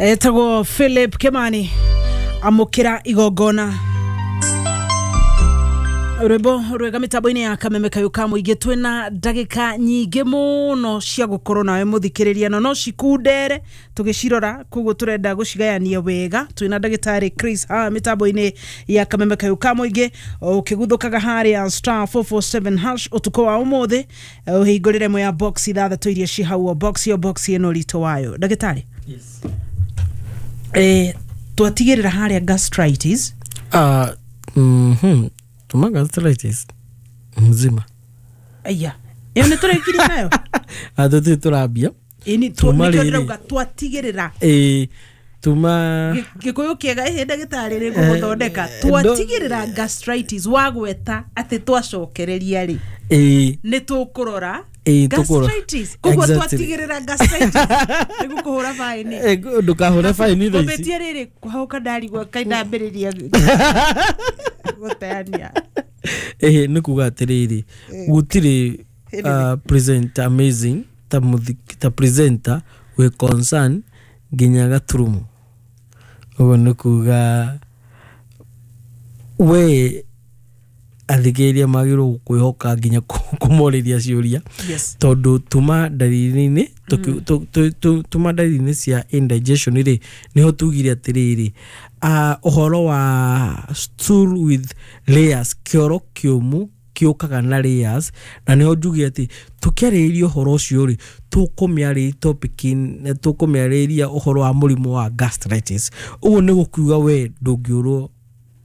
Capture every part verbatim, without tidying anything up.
Etagwo Philip Kimani, amukira igongona. Rwimbo rwega mitambo-inĩ ya Kameme Kayũ ka Mũingĩ. Twĩna ndagĩka nyingĩ mũno cia gũkorwo nawe mũthikĩrĩria, no no cikundere tũgĩcirora, koguo tũrenda gũcigayania wega. Twĩna ndagĩtarĩ Chris haha mĩtambo-inĩ ya Kameme Kayũ ka Mũingĩ. Ũkĩguthũkaga harĩa star four four seven hash ũtukũ wa ũmũthĩ, ũhingũrĩre ĩmwe ya box ithathatũ iria ci hau, o box o box ĩno ũritũ wayo. Ndagĩtarĩ, Yes. eh, twatigĩrĩra harĩa gastritis. Uh, mhm. Tuma gastritis mzima. Aya, ĩyo nĩ tũrĩkirie nayo. Ah, tũtirĩ tũrambia. Ĩni Tuma nĩkĩo rĩrĩ. ndĩrauga twatigĩrĩra. Ĩĩ, tuma. Gĩkũyũ kĩega ĩhĩ, ndagĩtarĩ, rĩ gũgũthondeka. Eh, Twatigĩrĩra gastritis, wagweta atĩ twacokereria rĩ, ĩĩ nĩ tũkũrora Ĩĩ, tũkũrora. gastritis, koguo Exactly. twatigĩrĩra gastritis nĩ gũkũhũra baĩni. Eh, ndũkahũre baini thaa ici. Ngũmbĩtie rĩrĩ kũhauka, ndarigwo kaĩ ndambĩrĩria gũteania. Ĩhĩ, nĩ kuga atĩrĩrĩ, gũtirĩ uh, presenter amazing ta mũthi- ta presenter wĩ concern nginya gaturumo. Ũguo nĩ kuga we athikĩrĩria magĩrĩirwo gũkwĩhoka nginya kũ- kũmorĩria ciũria, yes tondũ tuma ndariri-inĩ tũki- tũ- tũ- tũ- tuma ndariri-inĩ cia indigestion rĩ, nĩho tugire atĩrĩrĩ, ah, ũhoro wa stool with layers, kĩoro kĩũmũ kĩũkaga na layers, na nĩho njuge atĩ tũkĩarĩrĩria ũhoro ũcio rĩ, tũkũmĩarĩria topic, tũkũmĩarĩrĩria ũhoro wa mũrimũ wa gastritis. Ũguo nĩ gũkiuga we ndũngĩũrwo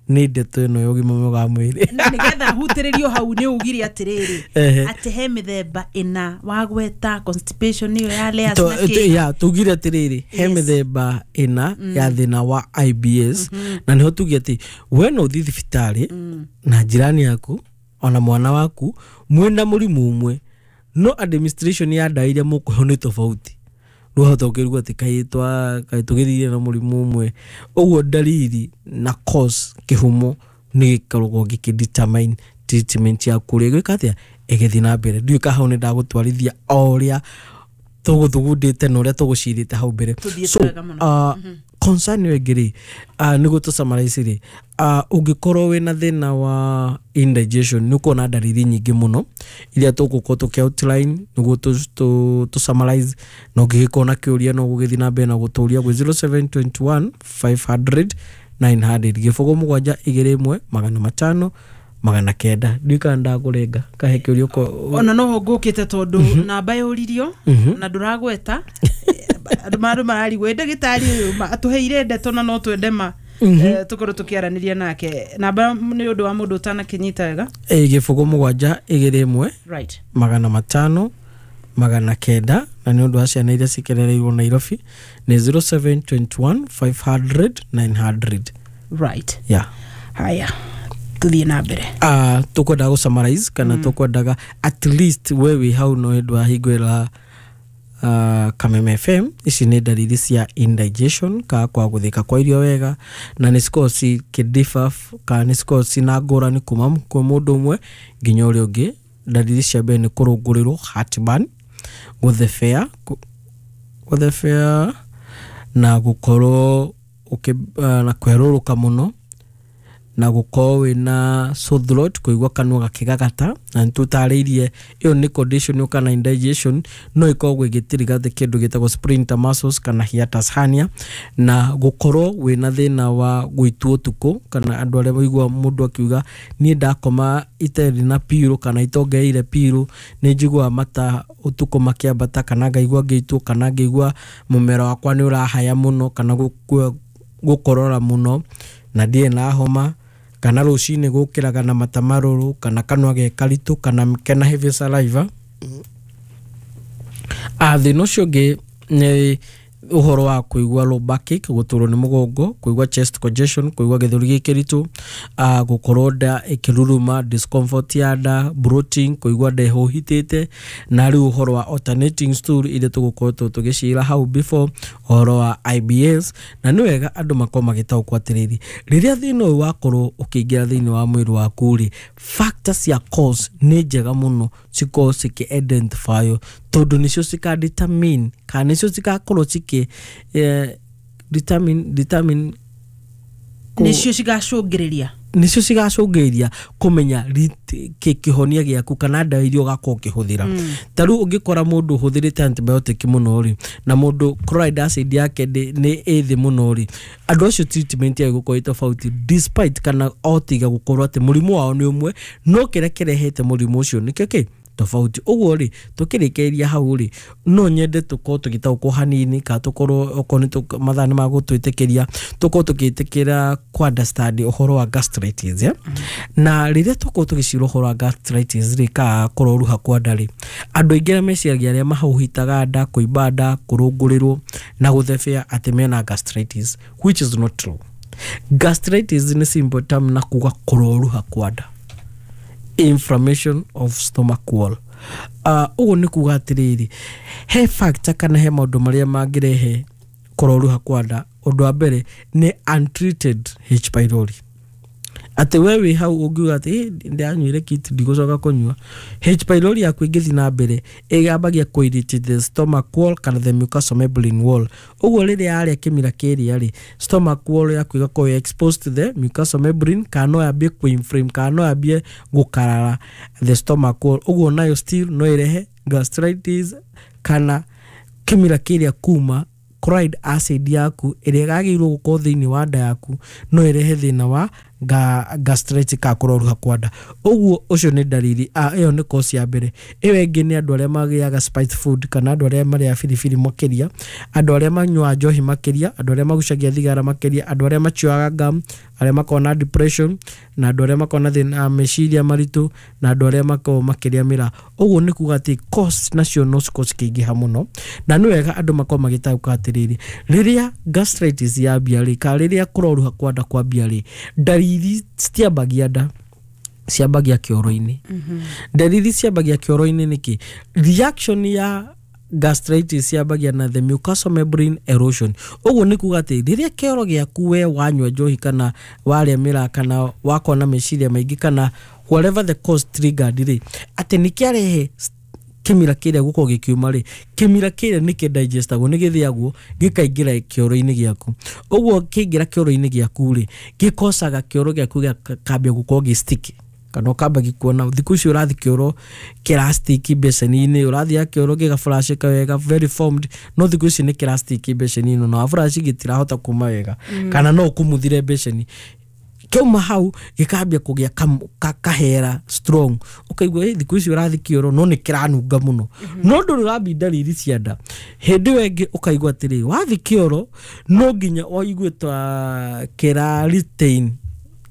nĩ ndeto ĩno ya ũgima mwega wa mwĩrĩ. Na nĩgetha hutĩrĩrio hau, nĩ ugire atĩrĩrĩ, Ehe. atĩ he mĩthemba ĩna wagweta, constipation ĩyo ya layers To- na to- kĩ. Ya, tugire atĩrĩrĩ, he Yes. mĩthemba ĩna ya thĩna wa I B S, na nĩho tuge atĩ we no ũthiĩ thibitarĩ na njirani yaku ona mwana waku mwĩna mũrimũ ũmwe, no administration ya ndawa iria mũkũheo nĩ tofauti. Rĩu hota ũkĩrigwo atĩ kaĩ twa kaĩ tũgĩthire na mũrimũ ũmwe. Ũguo ndariri na cause, kĩhumo, nĩ gĩkoragwo gĩkĩ determine treatment yaku ũrĩa ĩgwĩka atĩa, ĩgĩthiĩ na mbere. Ndiũĩ ka hau nĩ ndagũtwarithia o ũrĩa tũgũthugundĩte na ũrĩa tũgũcirĩte hau mbere. Tũthiĩte So wega mũno. uh, concern ĩyo ĩngĩ rĩ, uh, nĩguo tũ summarize rĩ, uh, ũngĩkorwo wĩna thĩna wa indigestion, nĩ ũkuona ndariri nyingĩ mũno iria tũgũkorwo tũkĩ outline nĩguo tũ- tũ tũ summarize. Na ũngĩgĩkorwo na kĩũria, no gũgĩthiĩ na mbere na gũtũria gwĩ zero seven two one five hundred nine hundred, gĩbũgũ mũgwanja igĩrĩ ĩmwe magana matano magana kenda. Ndiũĩ kana ndakũrenga kahe kĩũria ũko. Ona noho ngũkĩte, tondũ namba yũririo na ndũragweta, andũ andũ mararigwo ĩ ndagĩtarĩ ũyũ ma- atũheire ndeto na no twende ma eh, tũkorwo tũkĩaranĩria nake. Namba nĩ ũndũ wa mũndũ ũtanakĩnyita wega. Ĩ, gĩbũgũ mũgwanja igĩrĩ ĩmwe right magana matano magana kenda, na nĩ ũndũ wa ciana iria cikerereirwo Nairobi nĩ zero seven two one five hundred nine hundred. Right yeah. Haya, tũthiĩ na mbere. uh, tũkwendaga gũ summarize kana mm. tũkwendaga at least we wĩ hau no hĩndĩ wa hingũra uh, Kameme F M, ici nĩ ndariri cia indigestion ka kwa gũthĩka kwa irio wega, na nĩ cikoragwo cikĩ kana nĩ cikoragwo cina ngũrani kuma kwĩ mũndũ ũmwe nginya ũrĩa ũngĩ. Ndariri cia mbere nĩ kũrũngũrĩrwo, heartburn, gũthebea, kũ- gũthebea na gũkorwo ũkĩ, uh, na kwerũrũka mũno, na gũkorwo wĩna sore throat, kũigua kanua gakĩgagata. Na nĩ tũtarĩirie ĩyo nĩ condition yũkaga na indigestion, no ĩkoragwo ĩgĩtrigger kĩndũ gĩtagwo sphincter muscles kana hiatus hernia, na gũkorwo wĩna thĩna wa gũitwo ũtukũ, kana andũ arĩa maigua mũndũ akiuga, "Niĩ ndakoma itarĩ na pillow kana itongereire pillow, nĩ njiguaga mata ũtukũ makĩambata, kana ngaigua ngĩitwo, kana ngaigua mũmero wakwa nĩ ũrahaya mũno, kana gũkua- gũkorora mũno na ndirĩ na homa, kana rũcinĩ gũkĩraga na mata marũrũ, kana kanua ge karitũ, kana kena heavy saliva." Ah, thĩna ũcio ũngĩ nĩ ũhoro wa kũigua low backache, gũturwo nĩ mũgongo, kũigua chest congestion, kũigua gĩthũri gĩ kĩritũ, uh, gũkorwo nda ĩkĩruruma, discomfort ya nda, bloating, kũigua nda ĩhũhitĩte, na rĩu ũhoro wa alternating stool iria tũgũkoretwo tũgĩcira hau before, ũhoro wa I B S. Na nĩ wega andũ makorwo magĩtaũkwo atĩrĩrĩ, rĩrĩa thĩna ũyũ wakorwo ũkĩingĩra thĩinĩ wa mwĩrĩ waku rĩ, factors cia cause nĩ njega mũno cikorwo cikĩ identify, tondũ nĩcio cika determine kana nĩcio cigakorwo cikĩ eh, determine determine Nĩcio cigacũngĩrĩria. Nicio cigacũngĩrĩria kũmenya rit- kĩ- kĩhonia gĩaku kana ndawa iria ũgakorwo ũkĩhũthĩra. Ta rĩu ũngĩkora mũndũ ũhũthĩrĩte antibiotic mũno rĩ, na mũndũ chloride acid yake ndĩ- nĩ ĩ thĩ mũno rĩ, andũ acio treatment yao ĩgũkorwo ĩ tofauti, despite kana o tiga gũkorwo atĩ mũrimũ wao nĩ ũmwe, no kĩrĩa kĩrehete mũrimũ ũcio nĩkĩo kĩ tofauti. Ũguo rĩ, tũkĩrĩkĩrĩria hau rĩ, no nyende tũkorwo tũgĩtaũkwo hanini, kana tũkorwo okorwo nĩ tũ- mathaa nĩ magũtwĩtĩkĩria, tũkorwo tũgĩtĩkĩra kũ understand ũhoro wa gastritis, yeah? Na rĩrĩa tũkorwo tũgĩcira ũhoro wa gastritis rĩ, kana kũroruha kwa nda rĩ, andũ aingĩ arĩa meciragia arĩa mahũhitaga nda, kũimba nda, kũrũngũrĩrwo na gũthebea atĩ mena gastritis, which is not true. Gastritis nĩ simple term na kuga kũroruha kwa nda, inflammation of stomach wall. uh, ũguo nĩ kuga atĩrĩrĩ, he factor kana he maũndũ marĩa mangĩrehe kũroruha kwa nda. Ũndũ wa mbere nĩ untreated H pylori, atĩ we wĩ hau ũngiuga atĩ, "Ĩ, ndĩranyuire kit, ndigũcoka kũnyua." H pylori yaku ĩngĩthiĩ na mbere, ĩgambagia kũ irritate the stomach wall kana the mucosal membrane wall. Ũguo rĩrĩa yarĩa kĩmira kĩrĩa rĩ, stomach wall yaku ĩgakorwo exposed to the mucosal membrane, kana no yambie kũ-inflame, kana no yambie gũkarara the stomach wall. Ũguo nayo still no ĩrehe gastritis, kana kĩmira kĩrĩa kuma chloride acid yaku ĩrĩa yagĩrĩirwo gũkorwo thĩinĩ wa nda yaku no ĩrehe thĩna wa ga, gastritis ka kũroruha kwa nda. Ũguo ũcio nĩ ndariri, ah, ĩyo nĩ cause ya mbere. Ĩyo ĩngĩ nĩ andũ arĩa magĩaga spice food, kana andũ arĩa marĩaga biribiri makĩria, andũ arĩa manyuaga njohi makĩria, andũ arĩa magucagia thigara makĩria, andũ arĩa machuaga gum, arĩa makoragwo na depression, na andũ arĩa makoragwo na thĩna wa meciria maritũ, na andũ arĩa makoragwo makĩrĩa mĩraa. Ũguo nĩ kuga atĩ cause nacio no cikorwo cikĩingĩha mũno, na nĩ wega andũ makorwo magĩtaũka atĩrĩrĩ, rĩrĩa gastritis yambia rĩ, kana rĩrĩa kũroruha kwa nda kwambia rĩ, ndariri citiambagia nda, ciambagia kĩoro-inĩ. Ndariri ciambagia kĩoro-inĩ nĩkĩ? Reaction ya gastritis yambagia na the mucosal membrane erosion. Ũguo nĩ kuga atĩ rĩrĩa kĩoro gĩaku, we wanyua njohi kana warĩa mĩraa kana wakorwo na meciria maingĩ kana whatever the cause triggered rĩ, atĩ nĩ kĩarehe kĩmira kĩrĩa gũkorwo gĩkiuma rĩ, kĩmira kĩrĩa nĩ kĩdigestagwo, nĩ gĩthĩagwo gĩkaingĩra kĩoro-inĩ gĩaku. Ũguo kĩaingĩra kĩoro-inĩ gĩaku rĩ, gĩkocaga kĩoro gĩaku gĩkambia gũkorwo gĩ sticky, kana ũkamba gĩkuona thikũ ici ũrathiĩ kĩoro kĩrastiki mbeceni-inĩ, ũrathiĩ kĩoro gĩgaflashĩka wega, very formed, no thikũ ici nĩ kĩrastiki mbeceni-inĩ na waflash gĩtirahota kuma wega, kana no ũkumuthire mbeceni. Kĩauma hau gĩkambia kũgĩa kam- ka- kahera strong, ũkaigua, "Ĩ, thikũ ici ũrathiĩ kĩoro no nĩ kĩranunga mũno," no ndũrĩ ũrambi ndariri cia nda. Hĩndĩ ĩyo ĩngĩ ũkaigua atĩrĩ, wathiĩ kĩoro no nginya ũigue ta kĩra retain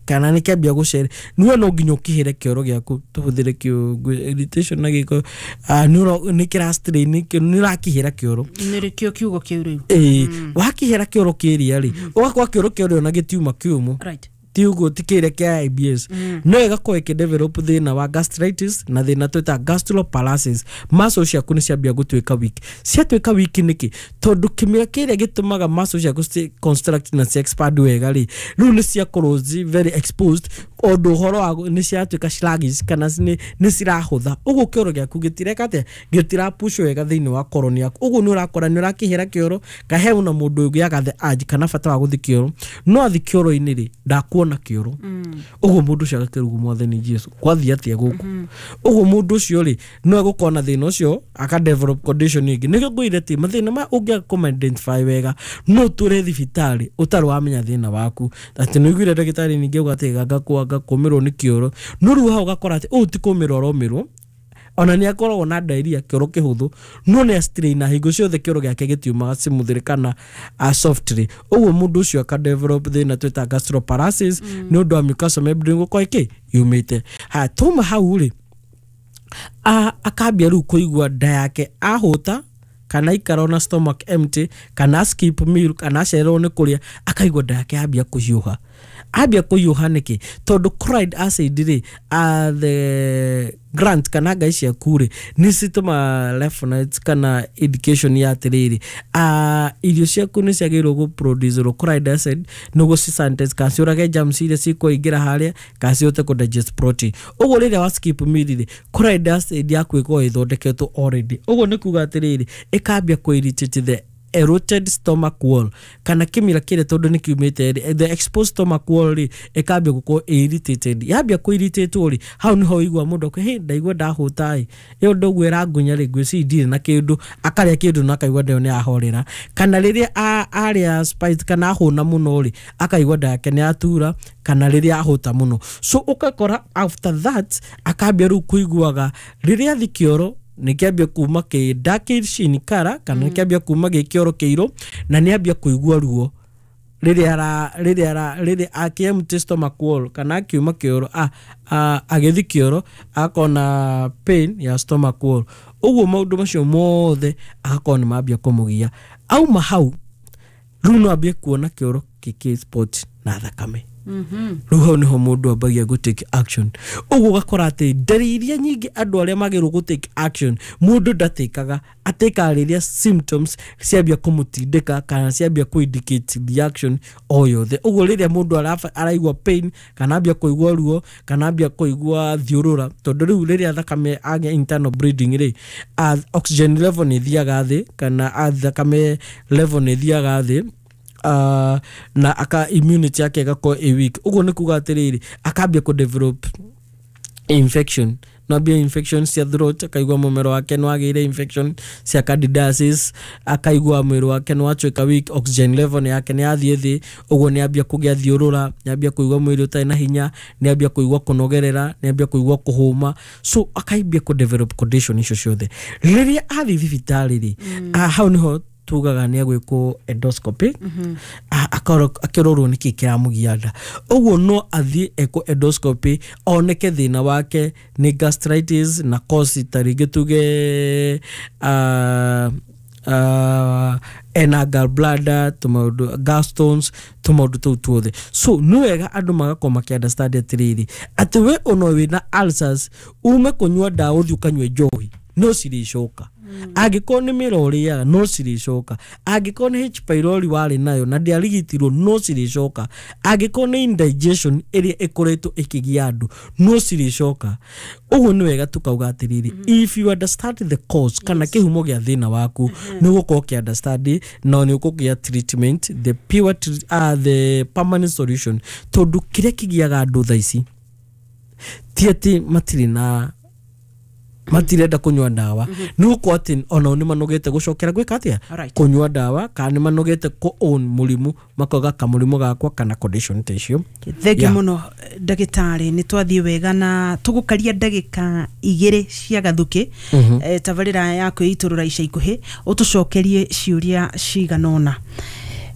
kana nĩ kĩambia gũcere niwe, no nginya ũkĩhĩre kĩoro gĩaku, tũhũthĩre kĩo irritation na gĩko, ah, nĩ ũro- nĩ kĩra strain, nĩ ũrakĩhĩra kĩoro. Nĩrĩkĩo kiugo kĩu rĩu? Ĩĩ, wakĩhĩra kĩoro kĩrĩa rĩ, ũgakorwo kĩoro kĩorĩ ona gĩtiuma kĩũmũ. Right ti ũguo, ti kĩrĩa kĩa I B S, no ĩgakorwo ĩkĩdevelop thĩna wa gastritis na thĩna twĩta gastroparesis. Muscle ciaku nĩ ciambia gũtuĩka weak. Ciatuĩka weak nĩkĩ? Tondũ kĩmira kĩrĩa gĩtũmaga muscle ciaku ci construct na ci expand wega rĩ, rĩu nĩ ciakorwo ci very exposed, ũndũ ũhoro wa nĩ ciatuĩka sluggish kana nĩ nĩ cirahũtha. Ũguo kĩoro gĩaku gĩtireka atĩa? Gĩtirapush wega thĩinĩ wa colon yaku. Ũguo nĩ ũrakora nĩ ũrakĩhĩra kĩoro kahe na mũndũ ũgĩaga the urge kana bata wa gũthiĩ kĩoro, no athi kĩoro-inĩ rĩ, ndakuona kĩoro. Ũguo mũndũ ũcio agakĩrugwo, "Mwathani Jesu, kwathiĩ atĩa gũkũ?" Ũguo mũndũ ũcio rĩ, no egũkorwo na thĩna ũcio, aka develop condition ĩngĩ. Nĩkĩo ngwĩre atĩ mathĩna maya ũngĩaga kũma identify wega, no ũtũre thibitarĩ ũtarĩ wamenya thĩna waku, atĩ nĩ ũiguire ndagĩtarĩ ningĩ auga atĩ ganga kwanga kũmĩrwo nĩ kĩoro, no rĩu hau ũgakora atĩ ũyũ ti kũmĩrwo aromĩrwo, ona nĩ akoragwo na diarrhea, kĩoro kĩhũthũ, no nĩ astraina hingo ciothe, kĩoro gĩake gĩtiumaga smoothly kana uh, softly. Ũguo mũndũ ũcio aka develop thĩna twĩta gastroparesis nĩ ũndũ wa mucosal membrane gũkorwo ĩkĩ yumĩte. Haya, tuma hau rĩ, a- akambia rĩu kũigua nda yake ahũta, kana ikara ona stomach empty, kana skip meal, kana acererwo nĩ kũrĩa, akaigua nda yake ambia kũhiũha. Ambia kũhiũha nĩkĩ? Tondũ chloride acid rĩ, uh, the gland kana ngai ciaku rĩ, nĩ citũma reference kana indication ya atĩrĩrĩ, uh, irio ciaku nĩ ciagĩrĩirwo gũ produce chloride acid nĩguo ci sanitize kana ciũrage germs iria cikũingĩra harĩa, kana cihote kũ digest protein. Ũguo rĩrĩa wa skip meal rĩ, chloride acid yaku ĩkoragwo ĩthondeketwo already. Ũguo nĩ kuga atĩrĩrĩ, ĩkambia kũ irritate the Eroded stomach wall, kana kĩmira kĩrĩa tondũ nĩ kiumĩte rĩ, the exposed stomach wall rĩ, ĩkambia gũkorwo irritated. Yambia kũ irritate rĩ, hau nĩho ũigua mũndũ akĩ, "Hey, ndaigua ndahũta ĩ, ĩyo ndoguo ĩrangunya rĩ, ngwĩciria ndirĩ na kĩndũ." Akarĩa kĩndũ na akaigua nda ĩyo nĩ yahorera, kana rĩrĩa a- arĩa spice kana ahũna mũno rĩ, akaigua nda yake nĩ yatura, kana rĩrĩa ahũta mũno. So ũgakora after that akambia rĩu kũiguaga rĩrĩa athi kĩoro nĩ kĩambia kuma kĩ darkish in color, kana nĩ kĩambia kuma gĩ kĩoro kĩirũ, na nĩ ambia kũigua ruo rĩrĩa ara rĩrĩa ara rĩrĩa akĩ stomach wall, kana akiuma kĩoro, a, a, agĩthi kĩoro akona pain ya stomach wall. Ũguo maũndũ macio mothe agakorwo nĩ mambia kũmũgia. Auma hau rĩu no ambie kuona kĩoro gĩkĩ spot na thakame. Rĩu hau nĩho mũndũ ambagia gũ take action. Ũguo ũgakora atĩ ndariri iria nyingĩ andũ arĩa magĩrĩirwo gũ take action, mũndũ ndatĩkaga, atĩkaga rĩrĩa symptoms ciambia kũmũtindĩka kana ciambia kũ indicate reaction o yothe. Ũguo rĩrĩa mũndũ araba- araigua pain, kana ambia kũigua ruo, kana ambia kũigua thiũrũra, tondũ rĩu rĩrĩa thakame agĩa internal bleeding rĩ, uh, oxygen level nĩ ĩthiaga thĩ, kana uh, thakame level nĩ ĩthiaga thĩ, uh, na aka immunity yake ĩgakorwo ĩ weak. Ũguo nĩ kuga atĩrĩrĩ, akambia kũ develop infection, no ambia infection cia throat, akaigua mũmero wake nĩ wagĩire infection cia candidiasis, akaigua mwĩrĩ wake nĩ watuĩka weak, oxygen level nĩ yake nĩ yathiĩ thĩ. Ũguo nĩ ambia kũgĩa thiũrũra, nĩ ambia kũigua mwĩrĩ ũtarĩ na hinya, nĩ ambia kũigua kũnogerera, nĩ ambia kũigua kũhũma. So akaambia kũ develop condition icio ciothe. Rĩrĩa athiĩ thibitarĩ rĩ, mm. hau nĩho tugaga nĩ agwĩkwo endoscopy, A- akorwo- akĩrorwo nĩkĩ kĩramũgia nda. Ũguo no athiĩ ekwo endoscopy, oneke thĩna wake nĩ gastritis na cause ta rĩngĩ tuge uh, uh, ena gallbladder, tũmaũndũ gallstones, tũmaũndũ tũu tuothe. So nĩ wega andũ magakorwo makĩ understand atĩrĩrĩ, atĩ we ona wĩna ulcers, ume kũnyua ndawa ũthiĩ ũkanyue njohi, no cirĩcoka. Angĩkorwo nĩ mĩro ũrĩaga, no cirĩcoka. Angĩkorwo nĩ H pylori warĩ nayo na ndĩarigitirwo, no cirĩcoka. Angĩkorwo nĩ indigestion ĩrĩa ĩkoretwo ĩkĩgia andũ, no cirĩcoka. Ũguo nĩ wega tukauga atĩrĩrĩ, if you understand the cause, kana kĩhumo gĩa thĩna waku, nĩ ũgũkorwo ũkĩ understand na nĩ ũkũgĩa treatment, the pure tre- uh, the permanent solution, tondũ kĩrĩa kĩgiaga andũ thaa ici ti atĩ matirĩ na matirenda kũnyua ndawa, nĩ gũkorwo atĩ onao nĩ manogete gũcokera gwĩka atĩa? Alright. Kũnyua ndawa, kana nĩ manogete kũ own mũrimũ, makauga kamũrimũ gakwa kana condition ta icio. Thengiũ Yeah. mũno ndagĩtarĩ, nĩ twathiĩ wega na tũgũkaria ndagĩka igĩrĩ cia gathukĩ. Mhm. eh, tabarĩra ya kwĩitũrũra ica ikuhĩ, ũtũcokerie ciũria cigana ũna.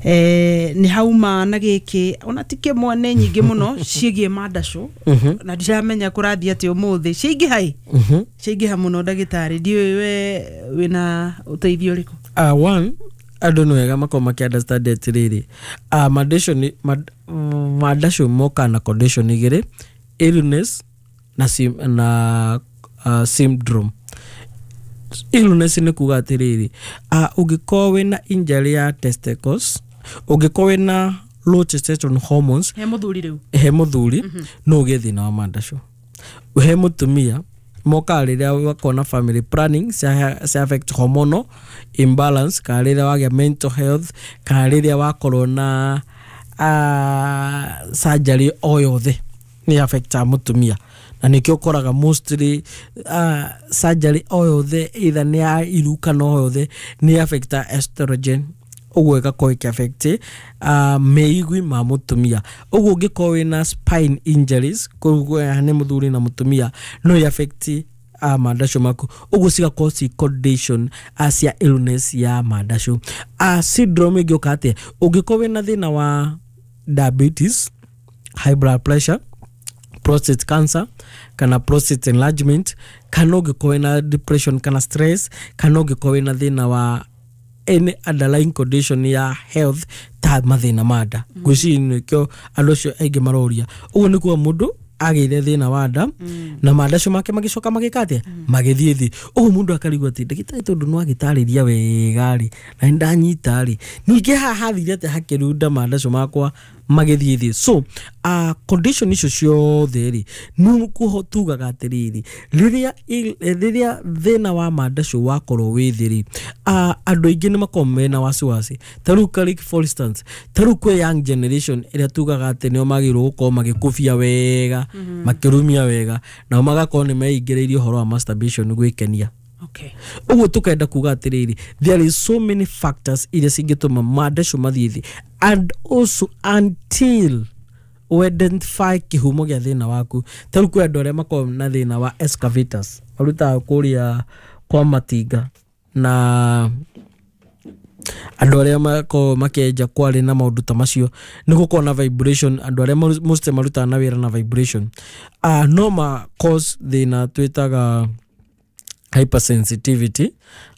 Eh, nĩ hauma na gĩkĩ ona ti kĩmwe, nĩ nyingĩ mũno ciĩgiĩ mandacũ, na ndiramenya kũrathiĩ atĩ ũmũthĩ ciaingĩha ĩ, Mhm. ciaingĩha mũno. Ndagĩtarĩ, ndiũĩ we wĩna ũteithio ũrĩkũ? Uh, one andũ nĩ wega makorwo makĩ understand atĩrĩrĩ, uh, mandacũ nĩ- mad- mandacũ mokaga na condition igĩrĩ, illness na, sim, na uh, syndrome. Illness nĩ kuga atĩrĩrĩ, uh, ũngĩkorwo wĩna injury ya testicles, ũngĩkorwo wĩna low testosterone hormones, he mũthuri rĩu. He mũthuri no ũgĩe thĩna wa mandacũ. He mũtumia mokaga rĩrĩa wakorwo na family planning cia, cia affect hormonal imbalance, kana rĩrĩa wagĩa mental health, kana rĩrĩa wakorwo na uh, surgery o yothe nĩ affectaga mũtumia. Na nĩkĩo ũkoraga mostly uh, surgery o yothe, either nĩ ya iru kana o yothe, nĩ affecta estrogen. Ũguo ĩgakorwo ĩkĩ affect uh, meigwi ma mũtumia. Ũguo ũngĩkorwo wĩna spine injuries, koguo nĩ mũthuri na mũtumia, no ĩ affect uh, mandacũ maku. Ũguo cigakorwo ci condition uh, cia illness ya mandacũ. uh, syndrome ĩngĩũka atĩa? Ũngĩkorwo wĩna thĩna wa diabetes, high blood pressure, prostate cancer kana prostate enlargement, kana ũngĩkorwo wĩna depression kana stress, kana ũngĩkorwo wĩna thĩna wa any underlying condition ya health ta mathĩna ma nda, ngwĩciria nĩkĩo andũ acio aingĩ maroria. Ũguo nĩ kuga mũndũ agĩire thĩna wa nda na mandacio make magĩcoka magĩka atĩa? Magĩthiĩ thĩ. Ũguo mũndũ akarigwo atĩ, ndagĩtarĩ, tondũ nĩ wagĩtarĩria wega rĩ, na nĩ ndanyita rĩ, ningĩ haha hathire atĩa hakĩrunda mandacio makwa? magĩthiĩ thĩ. So uh, condition icio ciothe rĩ, nĩkuo tugaga atĩrĩrĩ, rĩrĩa rĩrĩa thĩna wa mandacũ wakorwo wĩ thĩ rĩ, uh, andũ aingĩ nĩ makoragwo mena wasiwasi. Ta rĩu ka- for instance, ta rĩu kwĩ young generation ĩrĩa tugaga atĩ nĩo magĩrĩirwo gũkorwo magĩkũbia wega, makĩrumia wega, nao magakorwo nĩ meingĩrĩirie ũhoro wa masturbation gwĩkenia. Okay. Ũguo tũkenda kuga atĩrĩrĩ, there is so many factors iria cingĩtũma mandacũ mathiĩ thĩ, and also until identify kĩhumo gĩa thĩna waku. Ta rĩu kwĩ andũ arĩa makoragwo na thĩna wa excavators, marutaga kũrĩa kwa matinga, na andũ arĩa makoragwo makĩenja kwarĩ na maũndũ ta macio, nĩ gũkorwo na vibration. Andũ arĩa maru- mostly marutaga na wĩra na vibration, uh, no ma cause thĩna twĩtaga hypersensitivity.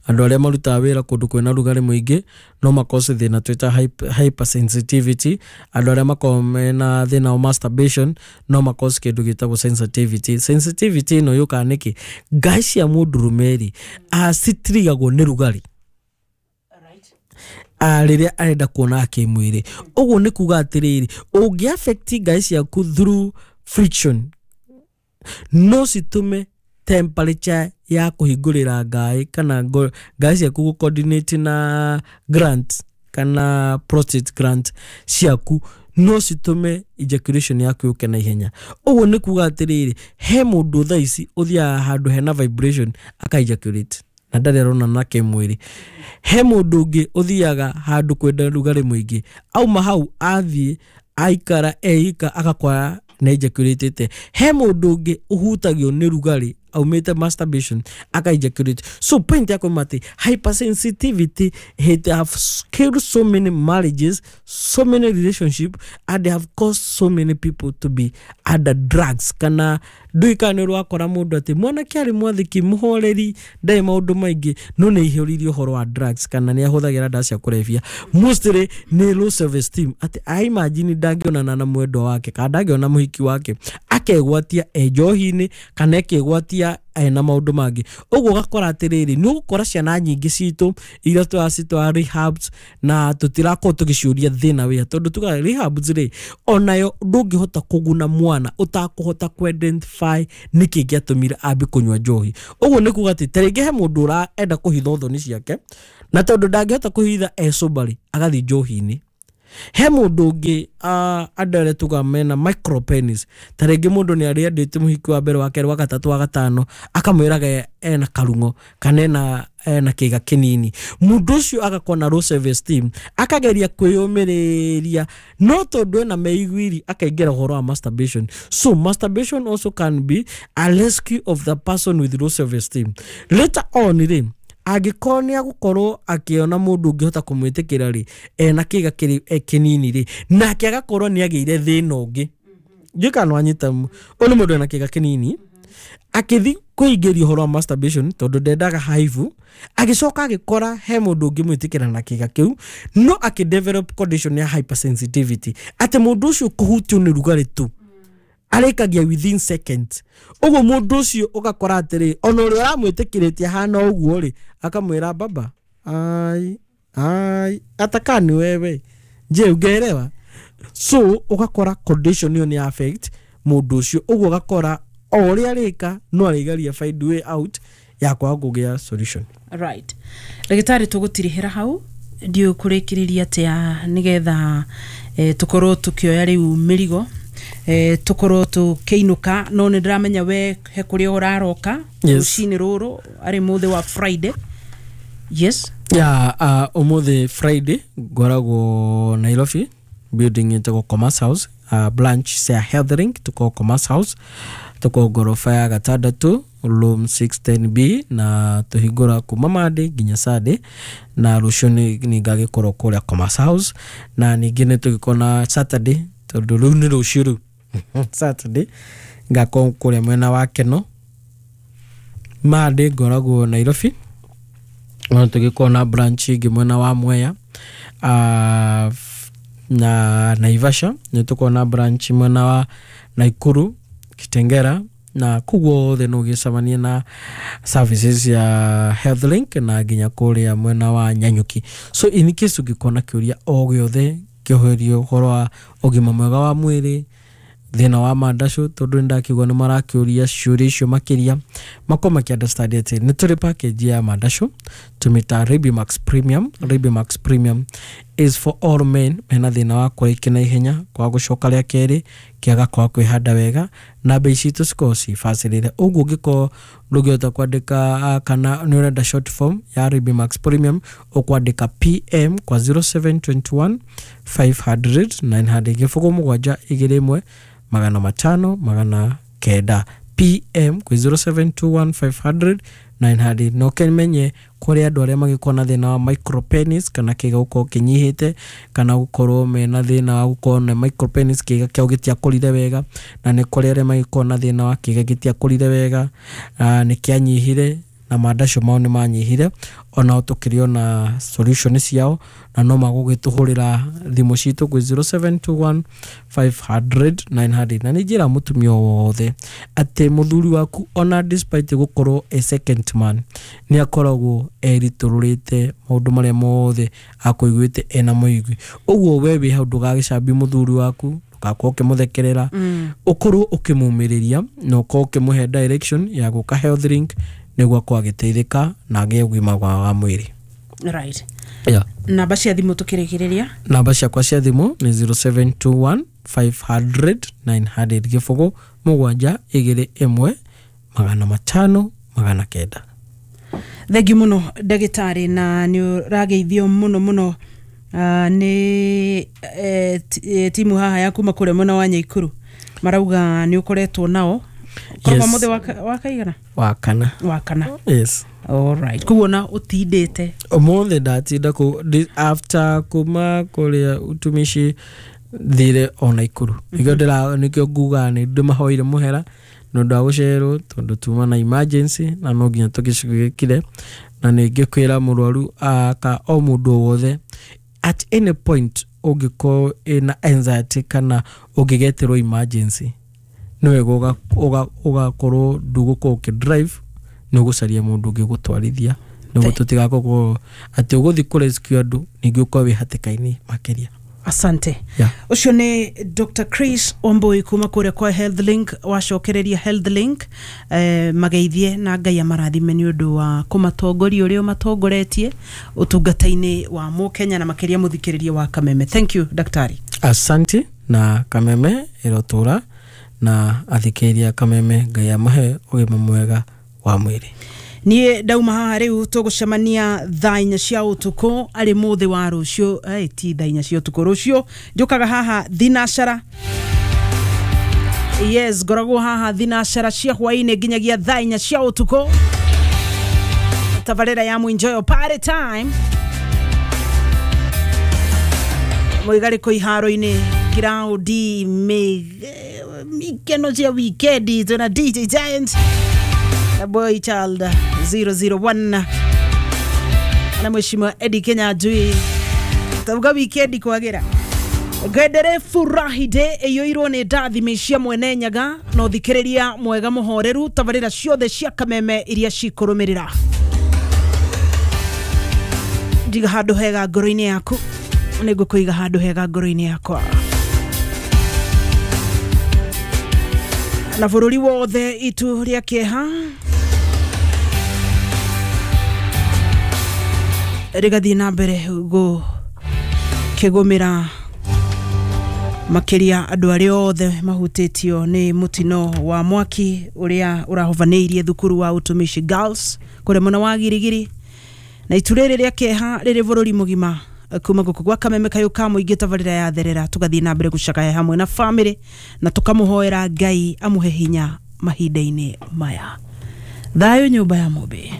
Andũ arĩa marutaga wĩra kũndũ kwĩna rugarĩ mũingĩ no makose thĩna twĩta hyp- hypersensitivity. Andũ arĩa makoragwo mena thĩna wa masturbation no makose kĩndũ gĩtagwo sensitivity. Sensitivity ĩno yũkaga nĩkĩ? Ngai cia mũndũrũme rĩ, ah, citirigagwo nĩ rugarĩ ah, rĩrĩa arenda kuona kĩmwĩrĩ. Ũguo nĩ kuga atĩrĩrĩ, ũngĩ affect ngai ciaku through friction, no citũme temperature ya kũhingũrĩra ngai kana ngo- ngai ciaku gũ coordinate na gland kana prostate gland ciaku, no citũme ejaculation yaku yũke na ihenya. Ũguo nĩ kuga atĩrĩrĩ, he mũndũ thaa ici ũthiaga handũ hena vibration aka ejaculate na ndarĩ arona na kĩmwĩrĩ. He mũndũ ũngĩ ũthiaga handũ kwenda rugarĩ mũingĩ, auma hau athiĩ aikara eika agakora nĩ ejaculatĩte. He mũndũ ũngĩ ũhutagio nĩ rugarĩ aumĩte masturbation aka ejaculate. So point yakwa nĩ atĩ hypersensitivity, it have killed so many marriages, so many relationship, and they have caused so many people to be under drugs. Kana ndũĩ kana nĩ ũrakora mũndũ atĩ mwanake arĩ mwathĩki, mũhoreri, ndarĩ maũndũ maingĩ, no nĩ aihũrĩirie ũhoro wa drugs kana nĩ ahũthagĩra ndawa cia kũrebia. Mostly nĩ low self esteem, atĩ a imagine ndangĩonana na mwendwa wake kana ndangĩona mũhiki wake, akegwatia e njohi-inĩ kana ekegwatia ena maũndũ mangĩ. Ũguo ũgakora atĩrĩrĩ, nĩ ũgũkora ciana nyingĩ citũ iria tũracitwara rehabs na tũtirakorwo tũgĩciũria thĩna wĩa, tondũ tugaga rehabs rĩ, onayo ndũngĩhota kũguna mwana ũtakũhota kũ-identify nĩkĩ gĩatũmire ambe kũnyua njohi. Ũguo nĩ kuga atĩ ta rĩngĩ he mũndũ ũrenda kũhitha thoni ciake, na tondũ ndangĩhota kũhitha e sober rĩ, agathiĩ njohi-inĩ. He mũndũ ũngĩ, uh, andũ arĩa tugaga mena micropenis, ta rĩngĩ mũndũ nĩ arĩendete mũhiki wa mbere, wa kerĩ, wa gatatũ, wa gatano, akamwĩraga ena karung'o kana ena ena kĩga kĩnini. Mũndũ ũcio agakorwo na low self esteem, akageria kwĩyũmĩrĩria, no tondũ ena meiguiri akaingĩra ũhoro wa masturbation. So masturbation also can be a rescue of the person with low self esteem. Later on rĩ, angĩkorwo nĩ agũkorwo akĩona mũndũ ũngĩhota kũmwĩtĩkĩra rĩ, ena kĩga kĩrĩ e kĩnini rĩ, nake agakorwo nĩ agĩire thĩna ũngĩ. Ndiũĩ kana nĩwanyita. Ũyũ nĩ mũndũ ena kĩga kĩnini, akĩthi kũingĩria ũhoro wa masturbation tondũ ndendaga haivu, agĩcoka agĩkora he mũndũ ũngĩmwĩtĩkĩra na kĩga kĩu, no akĩ develop condition ya hypersensitivity, atĩ mũndũ ũcio kũhutio nĩ rugarĩ tu arĩkagia within seconds. Ũguo mũndũ ũcio ũgakora atĩrĩ, ona ũrĩa ũramwĩtĩkĩrĩtie hana ũguo rĩ, akamwĩra, "Baba, ai ai, atakaa ni wewe, je ungeelewa?" So ũgakora condition ĩyo nĩ affect mũndũ ũcio. Ũguo ũgakora o ũrĩa arĩka no arĩgeria find way out ya kwaga kũgĩa solution. Right, ndagĩtarĩ, tũgũtirihĩra hau. Ndiũĩ kũrĩkĩrĩria atĩa nĩgetha eh, tũkorwo tũkĩoya rĩu mĩrigo, eh, tũkorwo tũkĩinũka, no nĩ ndĩramenya we he kũrĩa ũraroka Yes. rũcinĩ rũrũ arĩ mũthĩ wa Friday, yes? Ya, uh, ũmũthĩ Friday ngoragwo Nairobi, building ĩtagwo Commerce House, uh, branch cia Healthlink. Tukoragwo Commerce House, tukoragwo ngoroba ya gatandatũ, room six ten B, na tũhingũra kuma Monday nginya Sunday. Na rũciũ nĩ nĩ ngagĩkorwo kũrĩa Commerce House, na ningĩ nĩ tũgĩkorwo na Saturday, tondũ rĩu nĩ rũciũ, rĩu Saturday ngakorwo kũrĩa mwena wa Keno. Monday ngoragwo Nairobi, no tũgĩkorwo na branch ĩngĩ mwena wa Mwea, uh, na Naivasha nĩ tũkorwo na branch mwena wa Naikuru, Kitengera, na kũu guothe no ũgĩcemanie na services ya Healthlink, na nginya kũrĩa mwena wa Nyanyuki. So in case ũngĩkorwo na kĩũria o gĩothe Kĩoherio ũhoro wa ũgima mwega wa mwĩrĩ, thĩna wa mandacũ, tondũ nĩ ndakĩigua nĩ marakĩũria ciũria icio makĩria, makorwo makĩ understand atĩ nĩ tũrĩ package ya mandacũ tũmĩta Rabimax Premium. Rabimax Premium is for all men mena thĩna wa kũrĩkia na ihenya, kwaga gũcoka rĩa kerĩ, kĩaga kwaga kwĩhanda wega, na mbei citũ cikoragwo cibacĩrĩire. Ũguo ũngĩkorwo ndũngĩhota kwandĩka kana nĩ ũrenda short form ya Rabimax Premium, ũkwandĩka P M kwa zero seven two one five hundred nine hundred, gĩbũgũ mũgwanja igĩrĩ ĩmwe magana matano magana kenda, P M kwĩ zero seven two one five hundred nine hundred. Na ũkĩmenye kũrĩ andũ arĩa magĩkorwo na thĩna wa micropenis, kana kĩga gũkorwo kĩnyihĩte, kana gũkorwo mena thĩna wa gũkorwo na micropenis, kĩga kĩao gĩtiakũrire wega, na nĩ kũrĩ arĩa magĩkorwo na thĩna wa kĩga gĩtiakũrire wega, nĩ kĩanyihire na mandacio mao nĩ manyihire, onao tũkĩrĩ ona solution ciao, na no magũgĩtũhũrĩra thimũ citũ kwĩ zero seven two one five hundred nine hundred. Na nĩ njĩra mũtumia wothe atĩ mũthuri waku, ona despite gũkorwo a second man, nĩ akoragwo eritũrũrĩte maũndũ marĩa mothe akũiguĩte ena mũigui. Ũguo we wĩ hau, ndũgagĩcambie mũthuri waku, ndũgakorwo ũkĩmũthekerera, ũkorwo ũkĩmũmĩrĩria na ũkorwo ũkĩmũhe direction ya gũka Health Link nĩguo akorwo agĩteithĩka na agĩe ũgima mwega wa mwĩrĩ. Right. Yeah. Namba cia thimũ tũkĩrĩkĩrĩria. Namba ciakwa cia thimũ nĩ zero seven two one five hundred nine hundred, gĩbũgũ mũgwanja igĩrĩ ĩmwe magana matano magana kenda. Thengiũ mũno, ndagĩtarĩ, na nĩ ũrageithio mũno mũno uh, nĩ eh, eh, timu haha ya kuma kũrĩa mwena wa Nyaikuru, marauga nĩ ũkoretwo nao. Korwo Yes. mũthĩ wa kaigana? Wa kana. Wa kana. Yes. Alright, koguo na ũtindĩte? Ũmũthĩ ndatinda kũ di- after kuma kũrĩa utumishi thire ona Ikuru, nĩkĩo ndĩra nĩkĩo ngugaga nĩ ndĩmahoire mũhera nĩ ũndũ wa gũcererwo, tondũ tuma na emergency na no nginya tũgĩcugĩkire. Na nĩ ngĩkwĩra mũrwaru aka o mũndũ o wothe, at any point ũngĩkorwo ĩna anxiety kana ũngĩgetĩrwo emergency, nĩ wega ũgakorwo ndũgũkorwo ũkĩ drive, nĩ ũgũcaria mũndũ ũngĩ gũtwarithia nĩguo tũtigakorwo atĩ ũgũthiĩ kũ rescue andũ ningĩ ũkorwo wĩ hatĩka-inĩ makĩria. Asante. Yeah. Ũcio nĩ Doctor Chris Wambui kuma kũrĩa kwa Health Link. Wacokereria Health Link eh, mageithie na Ngai amarathime nĩ ũndũ wa kũmatongoria ũrĩa ũmatongoretie ũtungata-inĩ wa mũkenya na makĩria mũthikĩrĩria wa Kameme. Thank you, daktari. Asante, na Kameme ĩrotũra na athikĩrĩria Kameme, Ngai amahe ũgima mwega wa mwĩrĩ. Niĩ ndauma haha rĩu, tũgũcemania thaa inya cia ũtukũ arĩ mũthĩ wa rũciũ. Eh, ti thaa inya cia ũtukũ rũciũ, njũkaga haha thinacara. Yes, ngoragwo haha thinacara cia hwainĩ nginyagia thaa inya cia ũtukũ, tabarĩra ya Mwinjoyo Party Time, mũigarĩko iharo-inĩ kiraũndi mikeno cia wikendi, twĩna D J Giant na Boy Child zero zero one na Mheshimiwa Eddie Kenyanjui. Tauga wikendi kwagira ngwendere furahi day ĩiyũirwo nĩ ndathimi cia Mwene Nyaga na ũthikĩrĩria mwega mũhoreru tabarĩra ciothe cia Kameme iria cikũrũmĩrĩra. Ndiga handũ hega ngoro-inĩ yaku, nĩ ngũkũiga handũ hega ngoro-inĩ yakwa, na bũrũri wothe itu rĩa kĩeha rĩgathiĩ na mbere gũkĩgũmĩra makĩria andũ arĩa othe mahutĩtio nĩ mũtino wa mwaki ũrĩa ũrahobanĩirie thukuru wa Utumishi Girls kũrĩa mwena wa Girigiri, na itu rĩrĩ rĩa kĩeha rĩrĩ bũrũri mũgima. Kuma gũkũ gwa Kameme kayũ ka mũingĩ, tabarĩra ya therera, tũgathiĩ na mbere gũcakaya hamwe na famĩlĩ na tũkamũhoera Ngai amũhe hinya mahinda-inĩ maya. Thayũ nyũmba ya Mũmbĩ.